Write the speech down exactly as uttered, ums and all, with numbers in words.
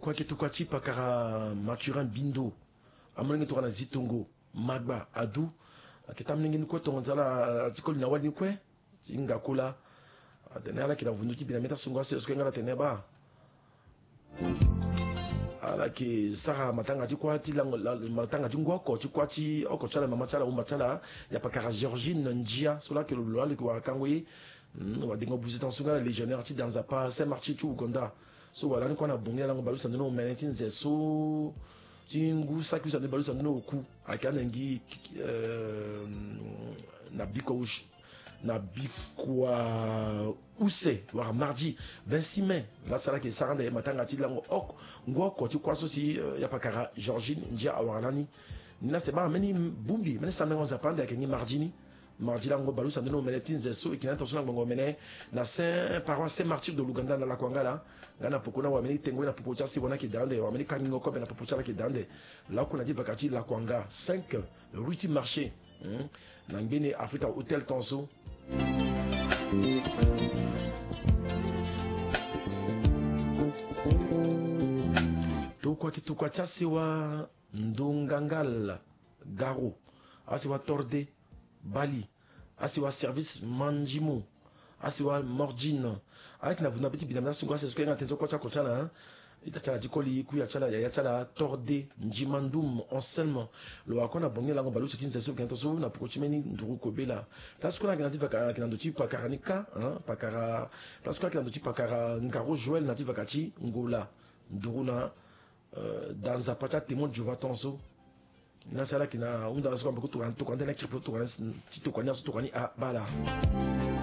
Kue ake tokua ti pakara Mathurin Bindo, amolenge tokua na Zitongo, Magba, Adu. Ake tambelenge ni kue tongo nzala ti koli na wali ni kue ti Ngakola. Atene ala yeke na vundu ti bi na mê ti asungo aseso kue nga ala tene baa. Ala yeke sara matanga ti kuâ ti lango la- matanga ti ngu oko ti kuâ ti oko ti ala, mama ti ala, wumba ti ala, ya pakara Georgine Ndia so la yeke lo lo ala yeke wara kango ye. Hmm, wadengo buze tongaso nga ala légionnaire ti danzapa Saint Martyr ti Ouganda. So wala ni kue na bongi alango baleuse ande ni omene ti nze so ti ngu saki use ande baleuse ande ni oku. Ayeke ande ngi, euh, na biko use na bikua use wala mardi vingt-six mai. Laa sara ayeke sara ande matanga ti lango oko, ngu oko ti kuâ so si, euh, ya pakara Georgine Ndia awara lani. Ni laa si baa mbeni bongbi, mbeni sambela nzapa ande ayeke ngi mardi ni. Mardi lango baleuse ande ni omene ti nze so e yeke na ni tongaso na ngbongo omene na Saint, paroisse Saint Martyr de l'Ouganda na Lakuanga laa. Nga na poko ni awara mbeni tengo ye na popo ti asewa ni ayeke daa ande, awara mbeni kangingo kobe na popo ti ala ayeke daa ande. Laku na ti vaka ti Lakuanga cinq rue ti marché, hmm, na ngbeni Africa Hotel tongaso. Tokua ki tokua ti asewa Ndongangal Garo, asewa Torde Bali, asewa Service Manjimo, asewa Mordine. Ala yeke na vundu na be ti bi na mê ti asungo aseso kue nga na tene so kue ti oko ti ala, hein. Ita ti ala ti koli, kuya ti ala, yaya ti ala, Torde Njimandum Anselme. Lo wara kue na bongi lango baleuse ti nze so lo yeke na tongaso na poko ti mbeni nduru kobela. Laso kue na yeke na ti vaka, ayeke na ndo ti pakara ni kâ, hein, pakara. Laso kue ayeke na ndo ti pakara Ngaro Joël na ti vaka ti Ngola. Nduru na, euh, da nzapa ti aTémoin de Jéhovah tongaso. Ni asara ala yeke na hunda laso kue na peko tokua, tokua ni ande na kiri peko tokua ni, ti tokua ni aso tokua ni abaa laa.